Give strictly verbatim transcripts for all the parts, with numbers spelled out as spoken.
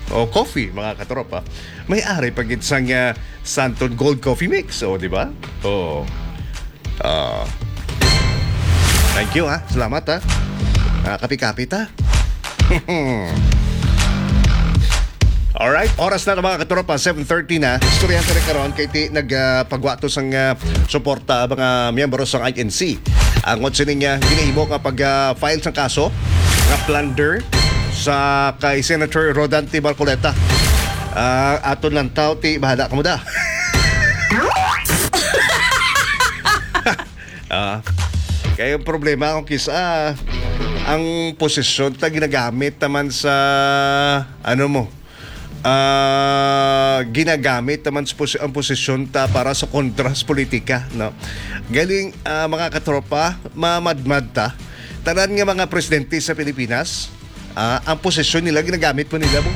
o coffee, mga katropa, may ari pa gid sang, ah, Santon Gold Coffee Mix, o, di ba? O. Ah. Thank you, ha. Salamat, ha. Ah, kapi-kapi ta. Alright, oras na, mga katropa, seven thirty na. Istoryahan ta na karon kay ti nag, ah, pagwa to sang, ah, suporta ang mga miyembro sang I N C. Ang sining, ah, ginahimo nga pag, ah, file sang kaso nga plunder sa kay Senator Rodante Marcoleta. Ah, aton lang taw ti bahala ka mo da. Ah, kay ang problema kung kisa ang posisyon ta ginagamit naman sa, ano mo, ah, ginagamit naman sa posi-, ang posisyon ta para sa kontras politika, no? Galing, ah, mga katropa, mamadmad ta. Tanan nga mga presidente sa Pilipinas, ah, ang posisyon nila ginagamit mo nila mo.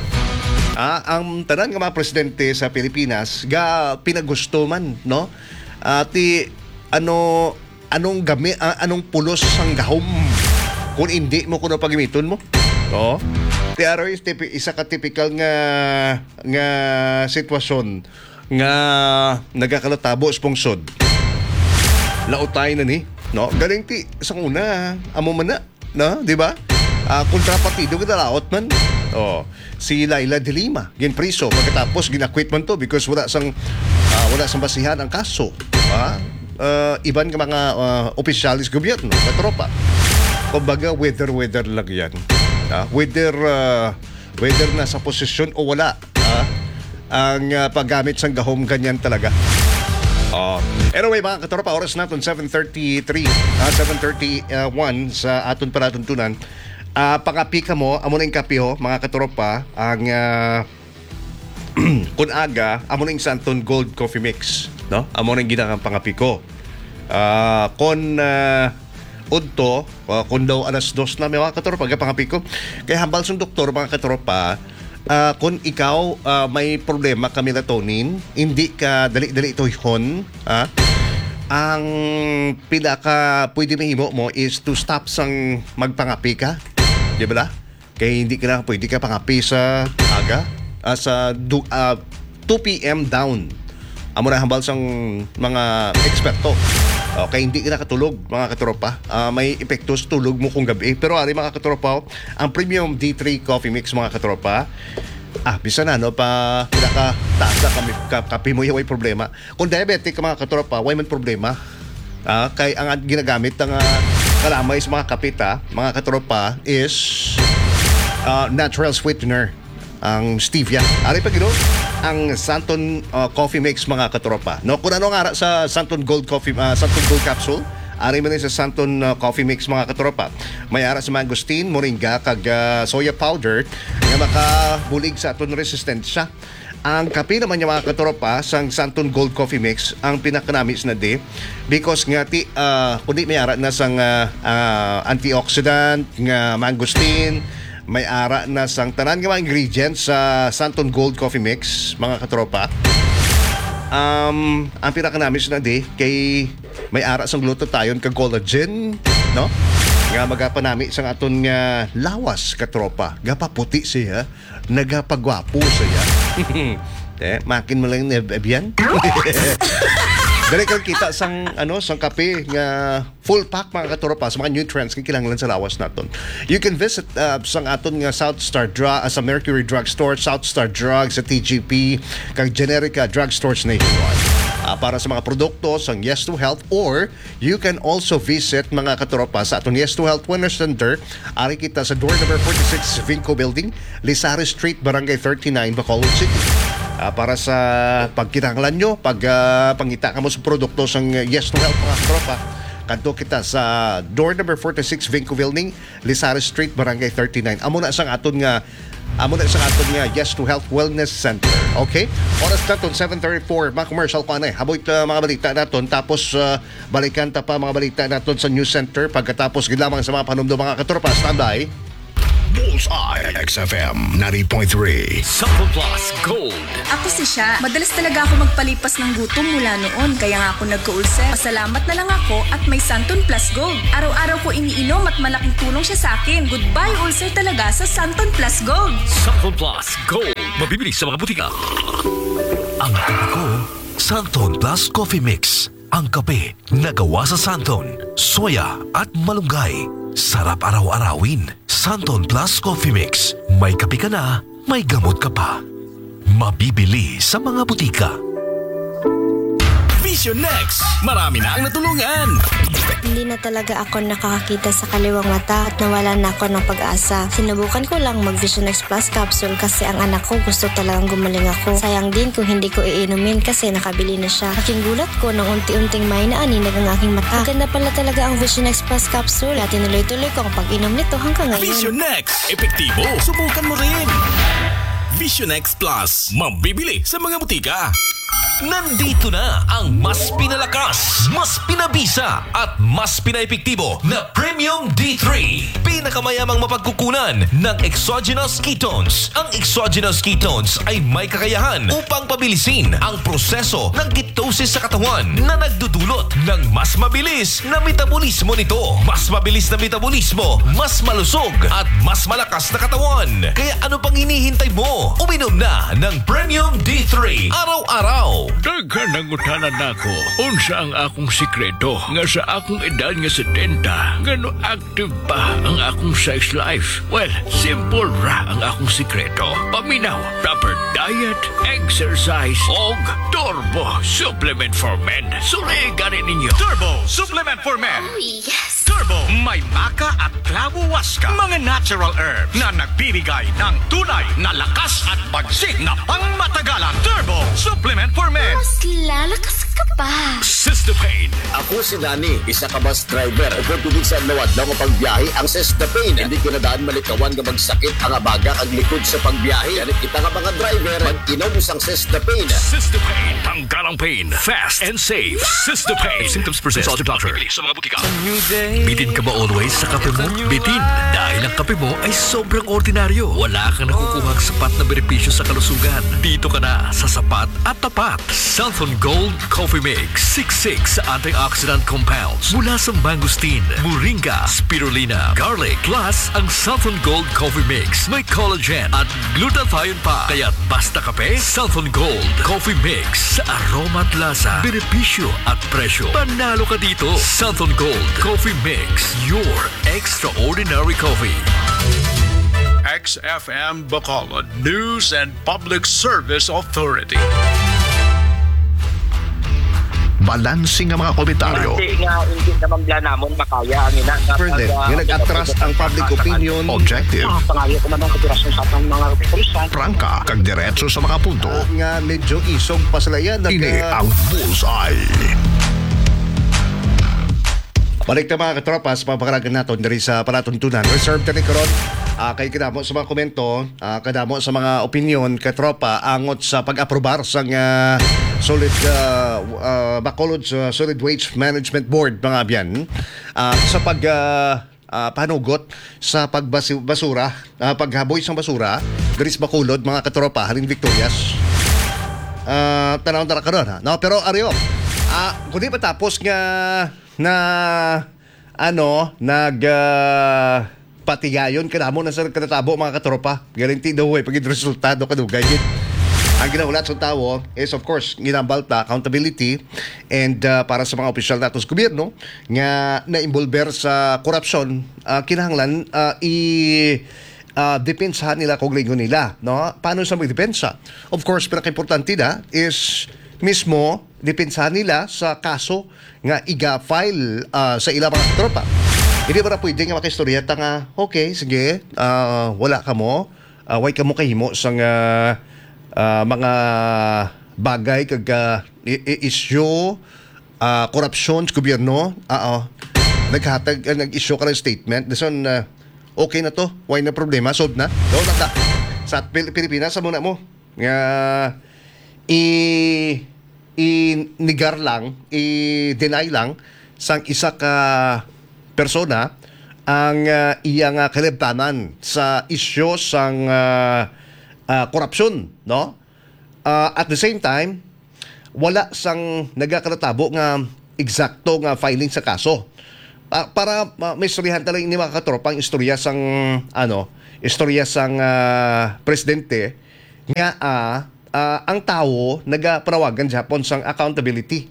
Ah, ang tanan nga mga presidente sa Pilipinas ga pinagusto man, no? Ah, ti ano, anong gami-, ah, anong pulos sang gahom kung hindi mo kuno pagimiton mo? Oo. Ti aro is tipi-, isa ka tipikal nga, nga sitwasyon nga nagakalatabo sa pungsod. Lautay na ni, no? Galing ti, sa una, amo man na, no? Di ba? Ah, kontrapartido, kinalaot man. Oh, si Leila de Lima, ginpriso. Pagkatapos, gin-acquit man to because wala sang, ah, wala sang basihan ang kaso. Ah, ah, iban nga mga, ah, opisyales gobyerno, katropa. Kumbaga, whether-whether lang yan. Ah, whether, ah, whether nasa posisyon o wala, ah, ang, ah, paggamit sang gahom, ganyan talaga. Ah, anyway, mga katropa, oras naton seven thirty-three, ah, seven thirty-one sa aton palatuntunan. Ah, pangapi kamo, amo na yung kape, ho, mga katropa, ang, ah, kun aga, amo na yung Santon Gold Coffee Mix, no? Amo na yung ginakang pangapi ko. Ah, kun, ah, udto, ah, kun daw alas dos na, mga katropa, gapangapi ko. Kay hambal sang doktor, mga katropa, ah, kun ikaw, ah, may problema ka melatonin, hindi ka dali-dali tuyhon, ah, ang pinaka pwede mahimo mo is to stop sang magpangapi ka. Di ba la? Kay hindi ka na pwede ka pangapi sa aga, ah, sa du-, ah, two P M down. Amo na hambal sang mga eksperto. Okay, hindi ka nakatulog, mga katropa. Ah, may epekto sa tulog mo kung gabi. Pero ari, mga katropa, ang Premium D three Coffee Mix, mga katropa, ah, bisan ano pa, pinakataas na kami, ka-, kape mo, way problema. Kung diabetic ka, mga katropa, way man problema. Ah, kay ang ginagamit nga kalamay sa mga kape ta, mga katropa, is, ah, natural sweetener, ang stevia. Ari pa gid ang Santon, ah, Coffee Mix, mga katropa. No, kung ano ang ara sa Santon Gold Coffee, ah, Santon Gold Capsule, ari man sa Santon, ah, Coffee Mix, mga katropa. May ara sa mangosteen, moringa, kag, ah, soya powder nga makabulig sa aton resistensya. Ang kape naman niya, mga katropa, sang Santon Gold Coffee Mix, ang pinakanami sa nadi, because nga ti, ah, kundi may ara na sang, ah, ah, antioxidant nga mangosteen, may ara na sang tanan nga mga ingredients sa Santon Gold Coffee Mix, mga katropa. Um, ang pinakanami sa nadi kay may ara sang glutathione kag collagen, no? Nga magapanami sang aton nga lawas, katropa. Gapaputi siya, nagapagwapo siya. Eh, makin mo lang ni Ab-, Abian. Dali kang kita sang, ano, sang kape nga full pack, mga katropa, sa mga nutrients nga kinahanglan sa lawas naton. You can visit, uh, sang aton nga South Star Dra-, uh, sa Mercury Drugstore, South Star Drug sa T G P, kag Generica Drugstores nationwide. Ah, para sa mga produkto sang Yes to Health, or you can also visit, mga katropa, sa aton Yes to Health Wellness Center. Ari kita sa door number forty-six, Vinco Building, Lizares Street, Barangay thirty-nine, Bacolod City. Ah, para sa pagkinahanglan nyo, pag, ah, pangita kamo sa produkto sang Yes to Health, mga katropa, kadto kita sa door number forty-six, Vinco Building, Lizares Street, Barangay thirty-nine. Amo na sang aton nga, amo na sang aton nga Yes to Health Wellness Center. Okay? Oras naton, seven thirty-four. Mga commercial pa na eh. Haboy ta mga balita naton. Tapos, ah, balikan ta pa mga balita naton sa News Center pagkatapos gid lamang sa mga panumdo, mga katropa. Standby. Bullseye, X F M ninety point three. Sample Plus Gold. Ako si Sha. Madalas talaga ako magpalipas ng gutom mula noon, kaya nga ako nagka-ulcer. Pasalamat na lang ako at may Santon Plus Gold. Araw-araw ko iniinom at malaking tulong siya sa akin. Goodbye ulcer talaga sa Santon Plus Gold. Sample Plus Gold. Mabibili sa mga butika. Ang kape ko, Santon Plus Coffee Mix. Ang kape na gawa sa santon, soya, at malunggay. Sarap araw-arawin. Santon Plus Coffee Mix. May kape ka na, may gamot ka pa. Mabibili sa mga butika. Vision X, marami na ang natulungan. Hindi na talaga ako nakakakita sa kaliwang mata at nawala na ako ng pag-asa. Sinubukan ko lang mag Vision X Plus capsule kasi ang anak ko gusto talagang gumaling ako. Sayang din kung hindi ko iinumin kasi nakabili na siya. Laking gulat ko nang unti-unting may naaninag ang aking mata. Maganda pala talaga ang Vision X Plus capsule. Kaya tinuloy-tuloy ko ang pag-inom nito hanggang ngayon. Vision X, epektibo. Subukan mo rin. Vision X Plus, mabibili sa mga butika. Nandito na ang mas pinalakas, mas pinabisa, at mas pinaepektibo na Premium D three. Pinakamayamang mapagkukunan ng exogenous ketones. Ang exogenous ketones ay may kakayahan upang pabilisin ang proseso ng ketosis sa katawan na nagdudulot ng mas mabilis na metabolismo nito. Mas mabilis na metabolismo, mas malusog, at mas malakas na katawan. Kaya ano pang hinihintay mo? Uminom na ng Premium D three araw-araw. Daghan nangutana nako, unsa ang akong sikreto nga sa akong edad nga setenta, ngano active pa ang akong sex life? Well, simple ra ang akong sikreto. Paminaw, proper diet, exercise, og Turbo Supplement for Men. Suri gani ninyo. Turbo Supplement for Men. Oh, yes. Turbo, may maca at clavo huasca, mga natural herbs na nagbibigay ng tunay na lakas at bagsik na pangmatagalan. Turbo Supplement for Men. Mas lalakas ka pa. Sister Pain. Ako si Danny, isa ka bus driver. Ug kung tubig sa adlaw-adlaw nga pagbiyahe ang Sister Pain. Hindi ko na daan malikawan nga magsakit ang abaga kag likod sa pagbiyahe. Gani kita nga mga driver, mag-inom sang Sister Pain. Sister Pain. Tanggal ang pain. Fast and safe. Sister Pain. If symptoms persist, consult your doctor. Bibili sa mga butika. Bitin ka ba always sa kape mo? Bitin, dahil ang kape mo ay sobrang ordinaryo. Wala kang nakukuhang sapat na benepisyo sa kalusugan. Dito ka na sa sapat at tapat. Santhon Gold Coffee Mix, siksik sa antioxidant compounds mula sa mangosteen, moringa, spirulina, garlic. Plus, ang Santhon Gold Coffee Mix may collagen at glutathione pa. Kaya't basta kape, Santhon Gold Coffee Mix. Sa aroma at lasa, benepisyo at presyo, panalo ka dito. Santhon Gold Coffee Mix, your extraordinary coffee. X F M Bacolod News and Public Service Authority. Balanse nga mga komentaryo. Hindi nga, hindi naman bla namon makaya ang ina nga Further, pag, ah, nga nag-atras ang public opinion. Objective. Ah, pangayo ko man ang kooperasyon sa atong mga kapulisan. Prangka, kag diretso sa mga punto. Ah, nga medyo isog pa sila yan. Ini ang Bullseye. Balik na, mga katropa, sa pagpakaragan naton diri sa palatuntunan. Reserve tani karon, ah, kay kadamo sa mga komento, ah, kadamo sa mga opinion, katropa, angot sa pag-aprobar sang, ah, solid, ah, ah, Bacolod sa Solid Waste Management Board, mga abyan, ah, sa pag, ah, ah, panugot sa pagbasi-, basura, ah, paghaboy sang basura diri sa Bacolod, mga katropa, halin Victorias. Ah, tanaw na ra karon, ha? No, pero ari, ah, kundi matapos nga na, ano, nag, ah, patigayon kadamo na sa nagkatabo, mga katropa. Guarantee daw, eh, pag resultado kadugay gid. Ang ginahulat sa tawo is, of course, ginambalta, accountability, and, ah, para sa mga opisyal nato sa gobyerno nga na-involver sa korupsyon, ah, kinahanglan, ah, i, ah, depensahan nila kung lingon nila, no? Paano sa magdepensa? Of course, pinakaimportante na is mismo depensahan nila sa kaso nga iga-file, ah, sa ilang mga tropa. Hindi ba na pwede nga makaistorya ta nga, "Okay, sige, ah, wala kamo, ah, way kamo kahimo sa nga, ah, mga bagay kag, ah, i-, i-, issue, ah, korupsyon sa gobyerno." Oo. Naghatag, ah, nag-issue ka ng statement. Dason, ah, okay na to. Way na problema. Solved na. Daw na ta. Sa Pil-, Pilipinas, amo na mo. Nga i-, i-negar lang, i-deny lang sang isa ka persona ang, ah, iya nga kalibtanan sa isyu sang, ah, ah, korupsyon, no? Ah, at the same time, wala sang nagakatabo nga eksakto nga filing sa kaso. Pa-, para ma-, maistoryahan ta lang ini, mga katropa, ang istorya sang, ano, istorya sang, ah, presidente nga, ah, ah, ang tawo nagapanawagan gyapon sang accountability.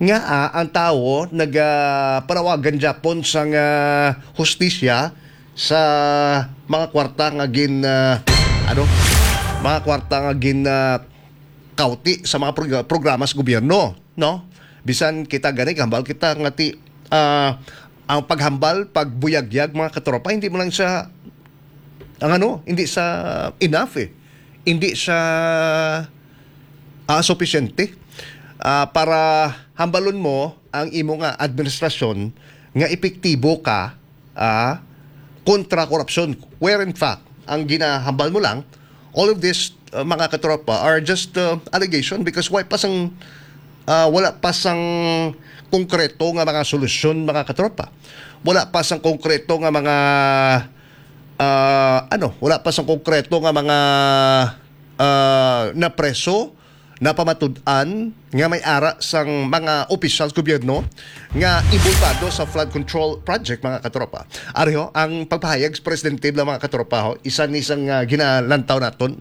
Nga, ah, ang tawo nagapanawagan gyapon sang, ah, hustisya sa mga kwarta nga gin, ah, ano, mga kwarta nga gin, ah, kauti sa mga prog-, programa sa gobyerno, no? Bisan kita gani, hambal kita nga ti, ah, ang paghambal, pagbuyagyag, mga katropa, hindi mo lang siya, ang ano, hindi sa enough eh. Hindi siya, ah, supisyente, ah, para hambalon mo ang imo nga administrasyon nga epektibo ka, ah, kontra korupsyon. Where in fact, ang ginahambal mo lang, all of this, uh, mga katropa, are just, uh, allegation because wala pa sang, uh, wala pa sang konkreto nga mga solusyon, mga katropa. Wala pa sang konkreto nga mga, uh, ano, wala pa sang konkreto nga mga, uh, napreso, napamatud-an nga may ara sang mga opisyal sa gobyerno nga inbolbado sa flood control project, mga katropa. Ari ho, ang pagpahayag sa presidente lang, mga katropa, ho, isa ni sang, ah, ginalantaw naton.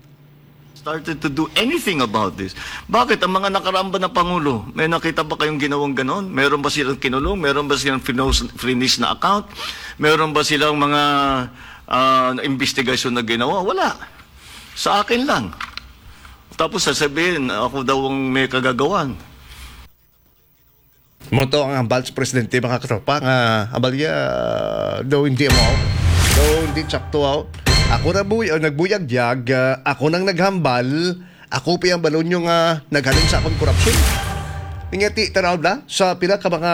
Started to do anything about this. Bakit ang mga nakaraan ba na pangulo, may nakita ba kayong ginawang ganon? Meron ba silang kinulong? Meron ba silang finos-, finish na account? Meron ba silang mga, ah, investigasyon na ginawa? Wala. Sa akin lang. Tapos sasabihin, ako daw ang may kagagawan. Mo to ang hambal sa presidente, mga katropa, nga hambal niya, daw hindi mo, daw hindi sakto, aw. Ako na buy-, uh, nagbuyagyag, uh, ako nang naghambal, ako pa ang balon nyo nga naghalin sa akong korupsyon. Nga ti, tanaw na, sa pila ka mga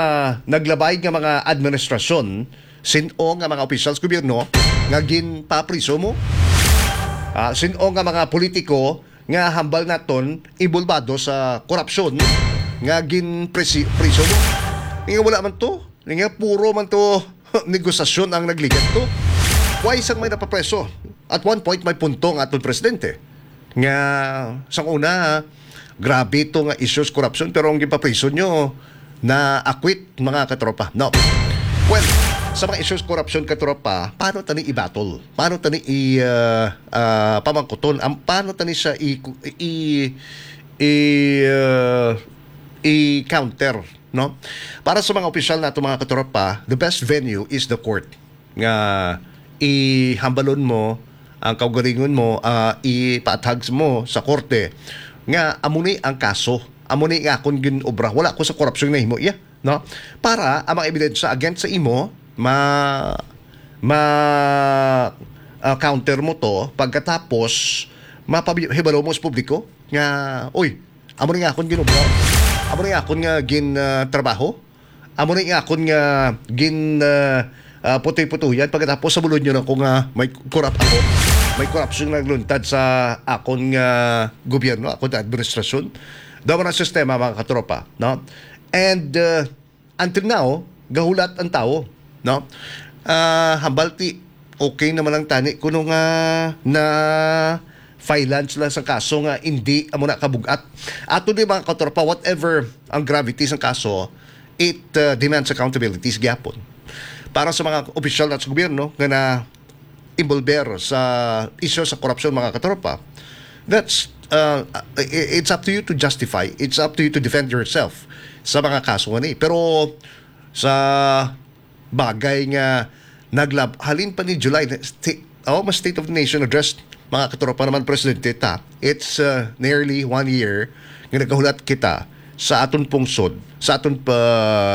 naglabay nga mga administrasyon, sin-o nga mga opisyal sa gobyerno nga ginpapriso mo? Ah, sin-o nga mga politiko nga hambal naton inbolbado sa korupsyon nga ginpresi-, priso mo? Nga wala man to. Nga puro man to negosasyon ang nagligat to. Why sang may napapreso? At one point, may punto ang aton presidente. Nga, sang una, grabe to nga issues korupsyon, pero ang gipapriso nyo, na-acquit, mga katropa. No. Well, sa mga issues korupsyon, katropa, paano tani i-battle? Paano tani i, ah, ah, pamangkuton? Am-, paano tani siya i, i, i, ah, i-counter, no? Para sa mga opisyal nato, mga katropa, the best venue is the court. Nga ihambalon mo ang kaugalingon mo, ah, ipaathag mo sa korte nga amo ni ang kaso, amo ni nga akon gin-obra. Wala ko sa korupsyon nahimo iya, no? Para ang mga ebidensya against sa imo, ma-, ma-, ah, counter mo to, pagkatapos, mapahibalo mo sa publiko nga, "Uy, amo ni nga akon gin-obra. Amo ni nga akon nga gin, ah, trabaho. Amo ni nga akon nga gin, ah, ah, putoy-putoyan. Pagkatapos, sa bulod nyo na ko nga may korap ako. May korupsyon nga nagluntad sa akon nga gobyerno, akon nga administrasyon." Daw na sistema, mga katropa, no? And, uh, until now, gahulat ang tawo, no? Ah, hambal ti, okay naman lang tani kuno nga na filean sila sa kaso nga hindi amo na kabugat. Ato ni, mga katropa, whatever ang gravity sa kaso, it, uh, demands accountability sa gyapon. Para sa mga opisyal na sa gobyerno nga na involver sa isyu sa korupsyon, mga katropa, that's, uh, i-, it's up to you to justify. It's up to you to defend yourself sa mga kaso nga ni. Pero sa bagay nga naglab-, halin pa ni July, na sti-, oh, mas State of the Nation Address, mga katropa naman, Presidente, ta. It's, uh, nearly one year nga nagahulat kita sa aton pungsod, sa aton pa,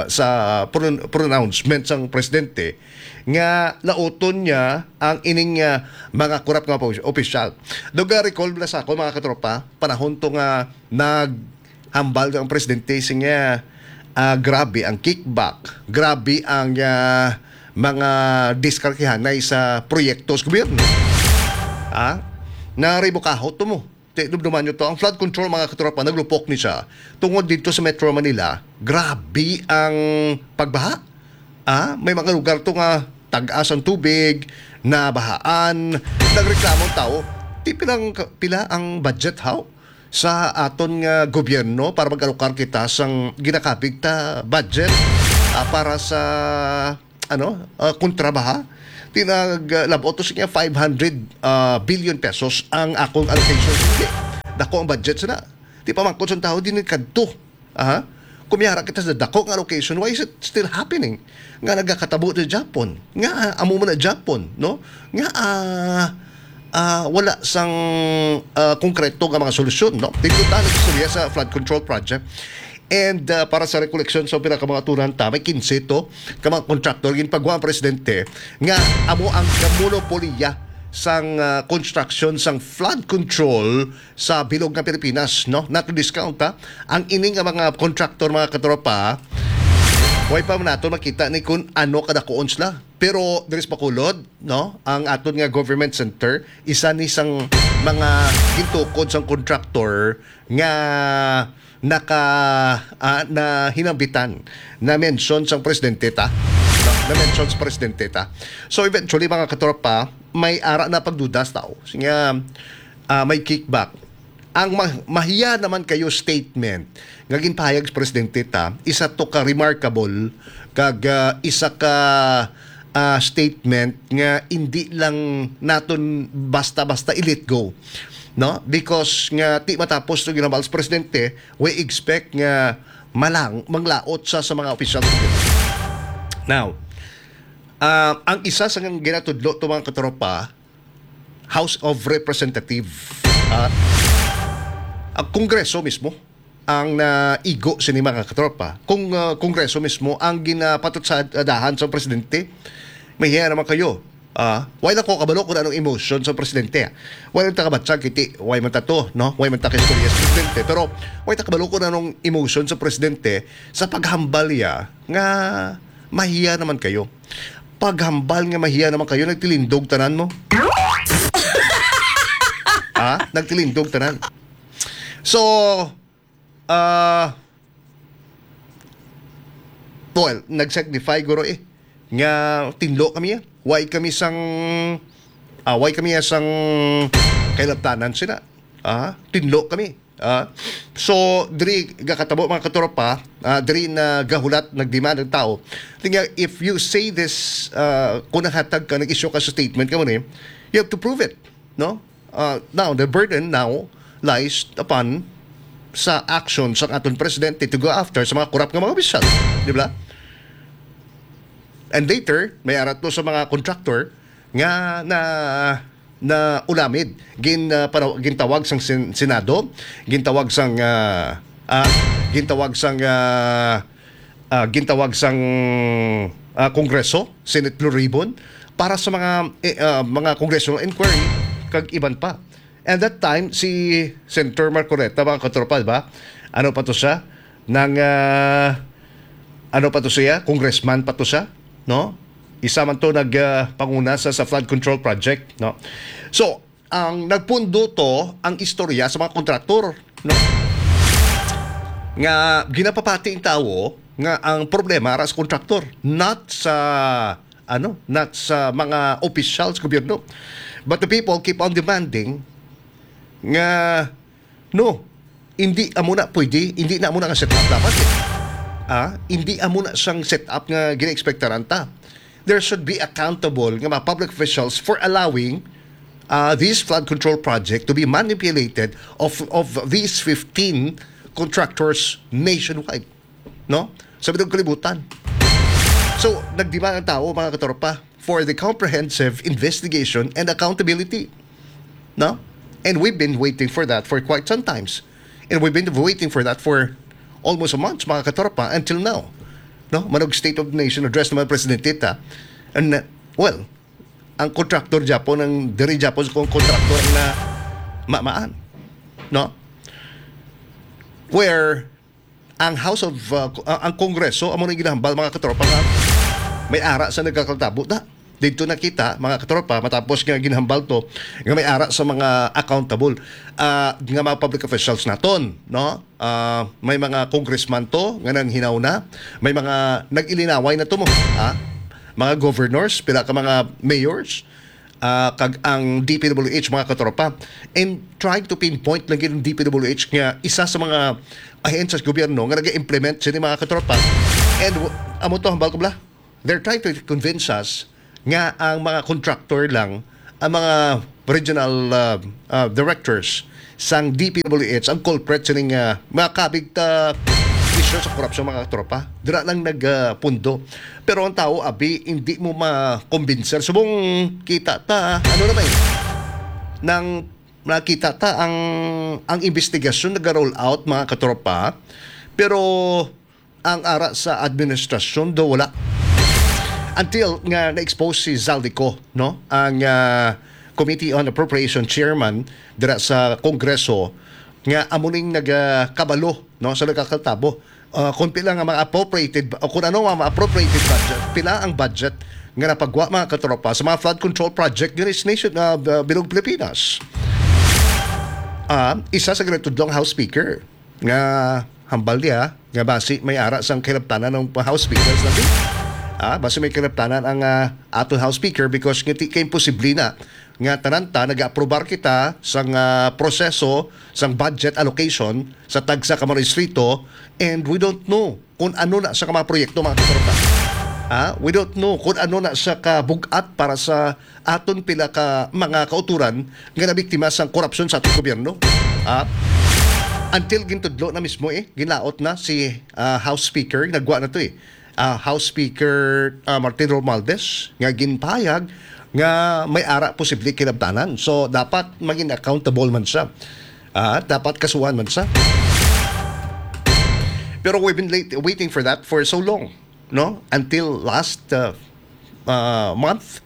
sa pron-, pronouncement sang Presidente nga lauton niya ang ining, ah, mga korap nga opos-, opisyal. Daw ga-recall bala sa ako, mga katropa, panahon to nga naghambal ang presidente, siya nga, ah, grabe ang kickback, grabe ang, ah, mga diskarkihanay sa proyekto sa gobyerno. Ah, naribukaho to mo. Ti, dumduman nyo to, ang flood control, mga katropa, naglupok ni siya. Tungod dito sa Metro Manila, grabe ang pagbaha. Ah, may mga lugar to nga tag-as ang tubig, nabahaan, nagreklamo ang tao. Ti, pilang, pila ang budget, haw? Sa aton nga gobyerno para mag-alokar kita sang ginakabig ta budget, ah, para sa ano, ah, kontrabaha. Tinag, uh, labot to siya five hundred, uh, billion pesos ang akong allocation. Hindi. Dako ang budget sana. Di pa mangkot sa tao, di ni kadto. Aha. Kumiyara kita sa dako nga allocation. Why is it still happening? Nga nagakatabo sa Japon. Nga, ah, amo man na Japon, no? Nga, ah, ah, wala sang, ah, konkreto nga mga solusyon, no? Dito tayo istorya sa flood control project. And, ah, para sa recollection sa pila ka mga tunan ta, may kinse to ka mga contractor, ginpagwa ang presidente nga amo ang kamonopolya sang, ah, construction sang flood control sa bilog nga Pilipinas, no? Not to discount, ha? Ang ini nga mga contractor, mga katropa, way pa man nato makita ni kung ano kadakuon sila. Pero diri sa Bacolod, no? Ang aton nga government center, isa ni sang mga gintukod sang contractor nga naka, ah, na hinambitan, na mention sang presidente ta. No? Na mention sa presidente ta. So eventually, mga katropa, may ara na pagduda sa tao. Sige, ah, may kickback. Ang ma-, mahiya naman kayo statement nga ginpahayag sa presidente ta, isa to ka remarkable kag, ah, isa ka, ah, statement nga hindi lang naton basta-basta i-let go, no? Because nga ti matapos to ginambal sa presidente, we expect nga malang manglaot sa, sa mga opisyal sa gobyerno. Now, ah, ang isa sa ginatudlo to, mga katropa, House of Representative, ah, ang Kongreso mismo ang naigo sini, mga katropa. Kung, ah, Kongreso mismo ang ginapatutsadahan sa presidente, mahiya naman kayo. Ah, wala ko kabalo kung anong emotion sa presidente. Wala ta kabatsag kiti, wala man ta to, no? Wala man ta ka istorya sa presidente. Pero wala ta kabalo kung anong emotion sa presidente sa paghambal niya nga mahiya naman kayo. Paghambal nga mahiya naman kayo, nagtilindog tanan mo. Ah, nagtilindog tanan. So, ah, well, nag-signify guro eh nga tinlo kami, ah. Why kami sang, ah, why kami sang kailabtanan sila? Ah, tinlo kami. Ah, so, diri gakatabo, mga katropa, ah, diri na gahulat, nagdemand ang tao. Tingnan, if you say this, ah, kung naghatag ka, nag-issue ka sa statement ka mo ni, you have to prove it, no? Ah, now, the burden now lies upon sa action sa aton presidente to go after sa mga corrupt nga mga opisyal, di ba? And later, may arat to sa mga contractor nga na, na ulamid, gin, ah, panaw-, gintawag sang Sen-, Senado, gintawag sang, ah, ah, gintawag sang, ah, ah, gintawag sang, ah, Kongreso, Senate Blue Ribbon, para sa mga, eh, ah, mga congressional inquiry kag iban pa. And that time, si Senator Marcoleta, mga katropa, di ba? Ano pa to siya? Nang, ah, ano pa to siya? Congressman pa to siya, no? Isa man to nag, ah, panguna sa, sa flood control project, no? So, ang nagpundo to ang istorya sa mga kontraktor, no? Nga ginapapati ang tawo nga ang problema ara sa kontraktor, not sa, ano, not sa mga opisyal sa gobyerno. But the people keep on demanding nga, no, hindi amo na pwede, hindi na amo na nga set up dapat, eh. Ah, hindi amo na siyang set up nga gina-expectaran ta. There should be accountable nga mga public officials for allowing, uh, this flood control project to be manipulated of, of these fifteen contractors nationwide, no? Sa bilog kalibutan. So, nagdemand ang tao, mga katropa, for the comprehensive investigation and accountability, no? And we've been waiting for that for quite some times. And we've been waiting for that for almost a month, mga katropa, until now. No? Manog State of the Nation Address naman, Presidente ta. And, uh, well, ang contractor Japon, ang diri Japon sa kong contractor na mamaan. No? Where ang House of, uh, ang Kongreso, amo nang ginahambal, mga katropa, nga may ara sa nagkakatabo na. Dito na kita, mga katropa, matapos nga ginhambal to, nga may ara sa mga accountable, ah, nga mga public officials naton, no? Ah, may mga congressman to nga nanghinaw na, may mga nag-ilinaway na to mo, ha? Mga governors, pila ka mga mayors, ah, kag ang D P W H, mga katropa. And trying to pinpoint lang yung D P W H nga isa sa mga ahensya sa gobyerno nga nag-implement sini, mga katropa. And w-, amo to, hambal ko bala, they're trying to convince us nga ang mga contractor lang, ang mga regional, ah, ah, directors sang D P W H ang culprit sining, ah, mga kabig ta isyu sa korupsyon, mga katropa. Dira lang nag, ah, pundo. Pero ang tao, abi, hindi mo makumbinser. Subong kita ta, ano na ba eh? Nang nakita ta ang, ang investigasyon naga-roll out, mga katropa. Pero ang ara sa administrasyon daw wala. Until nga na-expose si Zaldy Co, no? Ang, ah, Committee on Appropriation Chairman dira sa Kongreso nga amo ning nagakabalo, no, sa nagakatabo. Ah, kung pila nga mga appropriated o kung ano nga mga appropriated budget, pila ang budget nga napagwa, mga katropa, sa mga flood control project diri sa nation, ah, bilog Pilipinas. Ah, isa sa ginatudlo ang House Speaker nga hambal niya nga basi may ara sang kahilabtanan ang House Speakers natin. Ah, basi may kahilabtanan ang, ah, aton House Speaker because ngiti kay imposible na nga tanan ta nag-aprobar kita sang, ah, proseso sang budget allocation sa tagsa ka mga distrito, and we don't know kung ano na sa ka mga proyekto, mga katropa. Ah, we don't know kung ano na sa kabug-at para sa aton pila ka mga kauturan nga nabiktima sang korupsyon sa aton gobyerno. Ah, until gintudlo na mismo eh, ginlaot na si, ah, House Speaker, nagwa na to eh. Ah, House Speaker, ah, Martin Romualdez nga ginpahayag nga may ara posible kinabtanan. So dapat maging accountable man siya. Ah, dapat kasuhan man siya. Pero we've been late, waiting for that for so long, no? Until last, uh, uh, month,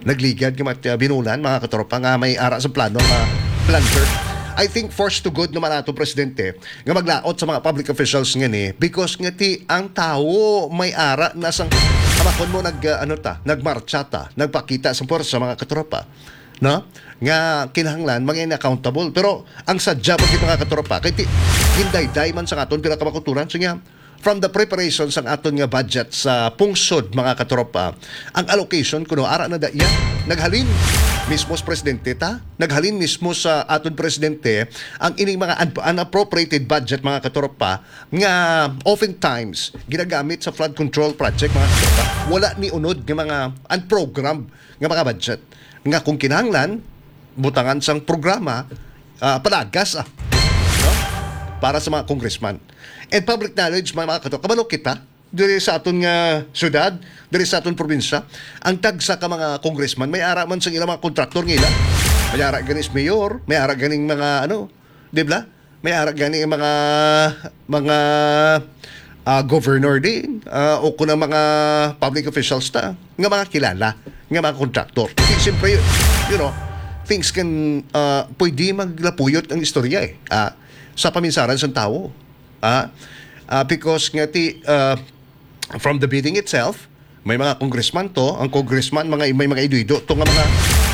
nagligad nga mat-, uh, binulan, mga katropa, nga may ara sa plano nga plunder. I think forced to good naman ato, Presidente, nga maglaot sa mga public officials nga ni because nga ti ang tawo may ara na sang kamakon mo nag, uh, ano ta, nagmarcha ta, nagpakita sa puwersa, mga katropa, no? Nga kinahanglan maging accountable. Pero ang sadya pa gid, mga katropa, kay ti gindayday man sa aton pila ka makuturan. So nga, from the preparation sang aton nga budget sa pungsod, mga katropa, ang allocation kuno ara na da iya naghalin mismo sa presidente ta, naghalin mismo sa aton presidente ang ining mga un-, unappropriated budget, mga katropa, nga oftentimes ginagamit sa flood control project, mga katropa. Wala ni unod nga mga unprogrammed nga mga budget nga kung kinahanglan butangan sang programa, ah, palagas, ah, no? Para sa mga congressman. And public knowledge, mga, mga kato, kabalo kita, diri sa aton nga syudad, diri sa aton probinsya, ang tagsa ka mga congressman, may ara man sa ilang mga kontraktor nga ila. May ara gani sa mayor, may ara ganing mga, ano, di ba? May ara gani ang mga, mga, ah, governor din, ah, o kung ang mga public officials ta, nga mga kilala, nga mga kontraktor. Di, siyempre, you know, things can, ah, pwede maglapuyot ang istorya eh, ah, sa paminsaran sa tawo. Ah, ah, because nga ti, ah, from the bidding itself, may mga congressman to, ang congressman, mga, may mga ido-ido to nga mga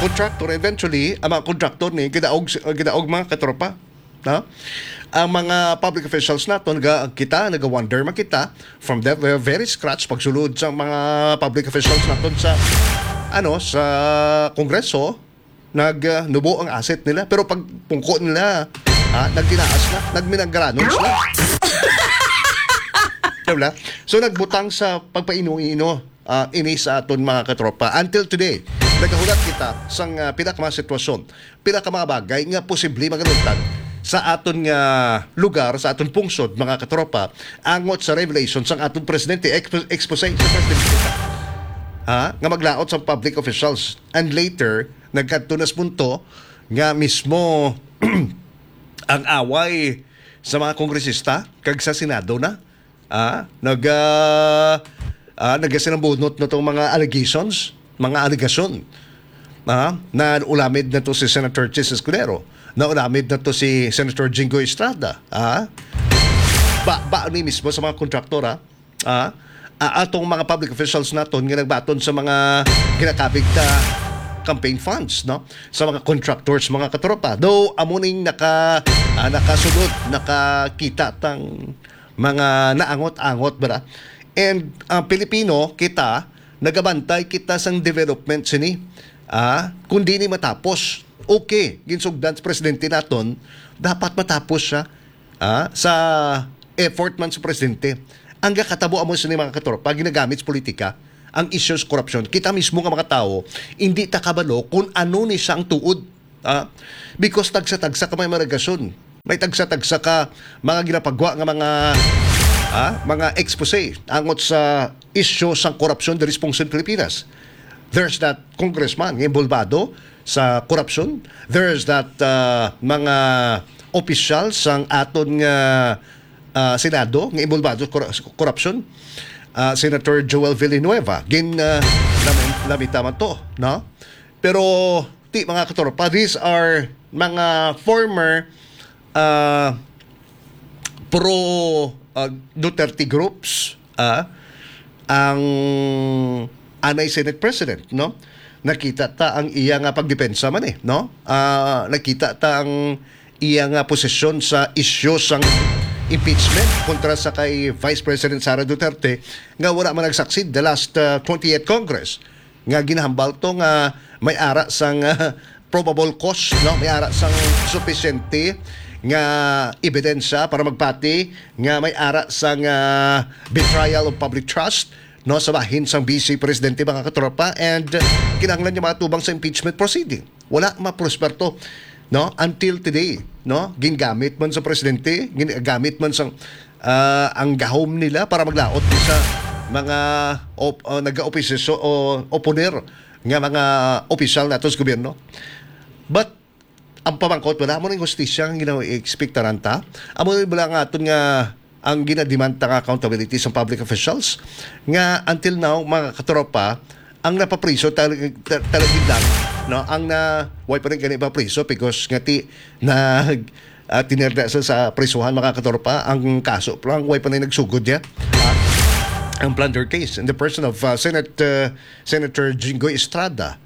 contractor. Eventually, ang mga contractor ni gidaog, gidaog, mga katropa, no? Ang mga public officials naton, ga-, kita, naga-wonder man kita, from the ve-, very scratch, pagsulod sa mga public officials naton sa, ano, sa Kongreso, nag, ah, nubo ang asset nila. Pero pag pungko nila, ah, nagtinaas na, nagminagranon sila. Diba? So, nagbutang sa pagpaino-ino, ah, ini sa aton mga katropa. Until today, nagahulat kita sang, ah, pila ka mga sitwasyon, pila ka mga bagay nga posible magaluntad sa aton nga lugar, sa aton pungsod, mga katropa, angot sa revelation sang aton presidente, expo-, expose sa presidente. Ha? Nga maglaot sa public officials. And later, nagkadto na sa punto nga mismo ang away sa mga kongresista kag sa Senado na, ah, nag, ah, ah, nagasinabunot na tong mga allegations, mga alegasyon. Ah, na ulamid na to si Senator Chiz Escudero, na ulamid na to si Senator Jinggoy Estrada. Ah, ba, ba ni mismo sa mga kontraktor, ah? Ah, ah, atong mga public officials naton nga nagbaton sa mga ginakabig ta campaign funds, no? Sa mga contractors, mga katropa. Though, amo ning naka, ah, nakasulod, nakakita tang mga naangot-angot, bala. And, ah, Pilipino, kita, nagabantay kita sang development sini. Ah, kung di ni matapos, okay, ginsugdan sa presidente naton, dapat matapos siya. Ah, sa effort man sa presidente. Ang gakatabo amo sini, mga katropa, ginagamit sa politika. ang issues korupsyon. Kita mismo nga mga tawo, hindi ta kabalo kung ano ni siya ang tuod. Ah, because tagsa-tagsa ka may mga alegasyon. May tagsa-tagsa ka mga ginapagwa nga mga, ah, mga expose angot sa isyu sang korupsyon diri sa pungsod Pilipinas. There's that congressman nga involvado sa korupsyon. There's that, ah, mga opisyal sang aton nga, ah, Senado nga involvado sa kor-, korupsyon. Ah, Senator Joel Villanueva, gin, ah, lamen-, lamita man to, no? Pero, ti, mga katropa, these are mga former, ah, pro, ah, Duterte groups, ah, ang anay Senate President, no? Nakita ta ang iya nga pagdepensa man eh, no? Ah, nakita ta ang iya nga posisyon sa isyu sang impeachment kontra sa kay Vice President Sara Duterte nga wala man nag-succeed the last, ah, twentieth Congress. Nga ginahambal to nga may ara sang, ah, probable cause, no? May ara sang supisyente nga ebidensya para magpati nga may ara sang, ah, betrayal of public trust, no, sa bahin sang Vice Presidente, mga katropa, and, uh, kinahanglan niya matubang sa impeachment proceeding. Wala maprosper to, no, until today, no? Gingamit man sa presidente, ginagamit man sang, ah, ang gahom nila para maglaot sa mga op-, uh, nag-oposisyon o oponer nga mga opisyal nato sa gobyerno. But ang pamangkot, wala mo ning hustisya nga gina-expectaran ta. Amo ni bala nga aton nga ang ginademand ta nga accountability sa public officials nga until now, mga katropa, ang napapriso talag-, ta-, talagid lang, no? Ang na, way pa rin gani mapriso because nga ti, nag, ah, tinirda sa, sa prisuhan, mga katropa, ang kaso pa lang, way pa rin nagsugod niya. Ah, ang plunder case in the person of, ah, Senate, ah, Senator Jinggoy Estrada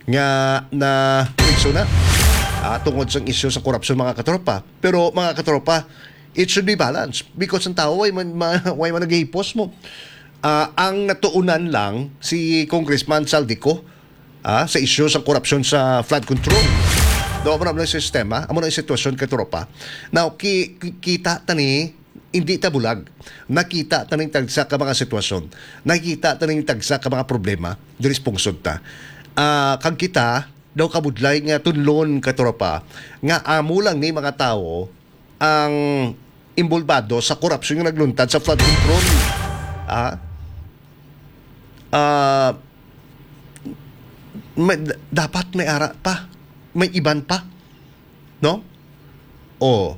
nga na priso na, ah, tungod sa isyu sa korupsyon, mga katropa. Pero, mga katropa, it should be balanced because ang tao way man, ma-, way man naghihipos mo. Ah, ang natuunan lang si Congressman Zaldy Co, ah, sa isyu sa korupsyon sa flood control. Do, amo na ang sistema, amo na ang sitwasyon, katropa. Now, ki-, ki-, kita ta ni, hindi ta bulag. Nakita ta ning tagsa ka mga sitwasyon. Nakita ta ning tagsa ka mga problema diri sa pungsod ta. Ah, kag kita daw kabudlay nga tunlon, katropa, nga amo lang ni mga tawo ang involbado sa korupsyon nga nagluntad sa flood control. Ah, ah, may, dapat may ara pa. May iban pa. No? O,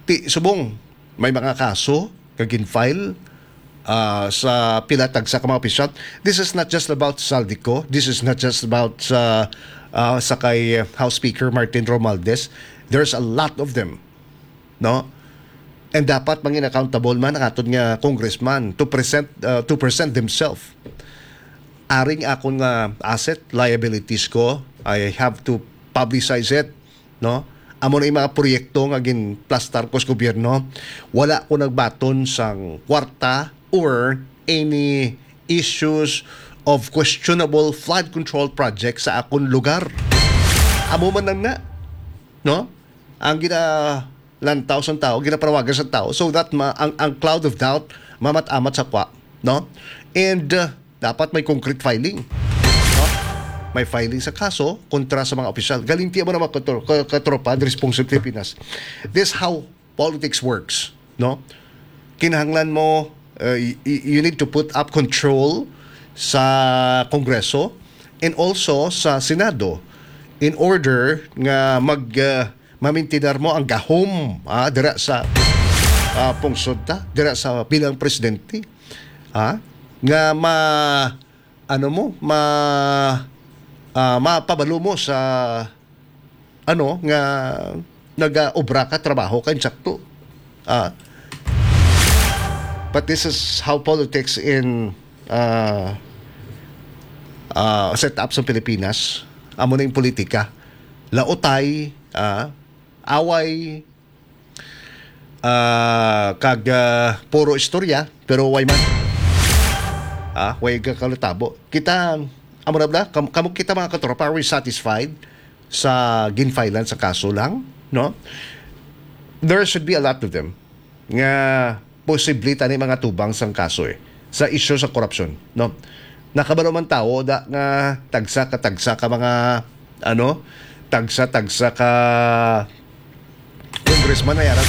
ti, subong, may mga kaso nga gin-file, ah, sa pila tagsa ka mga opisyal. This is not just about Zaldy Co. This is not just about sa, ah, sa kay House Speaker Martin Romualdez. There's a lot of them, no? And dapat mangin accountable man ang aton nga congressman to present, ah, to present themselves. Aring akon nga asset, liabilities ko, I have to publicize it, no? Amo na yung mga proyekto nga ginplastar ko sa gobyerno. Wala ko nagbaton sang kwarta or any issues of questionable flood control project sa akon lugar. Amo man lang na, no? Ang ginalantaw sang tao, ginapanawagan sang tao, so that ma-, ang, ang cloud of doubt mamat-amat sa kwa, no? And, uh, dapat may concrete filing, no? May filing sa kaso kontra sa mga opisyal. Galing tiya mo na mga katro-, ka-, katropa, diri sa Pilipinas. This how politics works, no? Kinahanglan mo, uh, y-, y-, you need to put up control sa Kongreso and also sa Senado in order nga mag, uh, mamintinar mo ang gahom, ah, dira sa, ah, pungsod ta, dira sa bilang presidente, ah, nga ma-, ano mo, ma-, ah, mapabalo mo sa ano, nga nagaobra ka, trabaho ka, insakto. Ah, but this is how politics in, ah, ah, set up sa Pilipinas. Amo na yung politika. Lautay, ah, away, ah, kag, ah, puro istorya, pero way man. Ah, way ka kalutabo. Kita, amo na bala, kam-, kamo kita mga katropa, are we satisfied sa ginfilean sa kaso lang, no? There should be a lot of them nga posible tani mga tubang sang kaso eh, sa isyu sa korupsyon, no? Nakabalo man tawo da nga tagsa ka tagsa ka mga, ano, tagsa tagsa ka congressman ay ara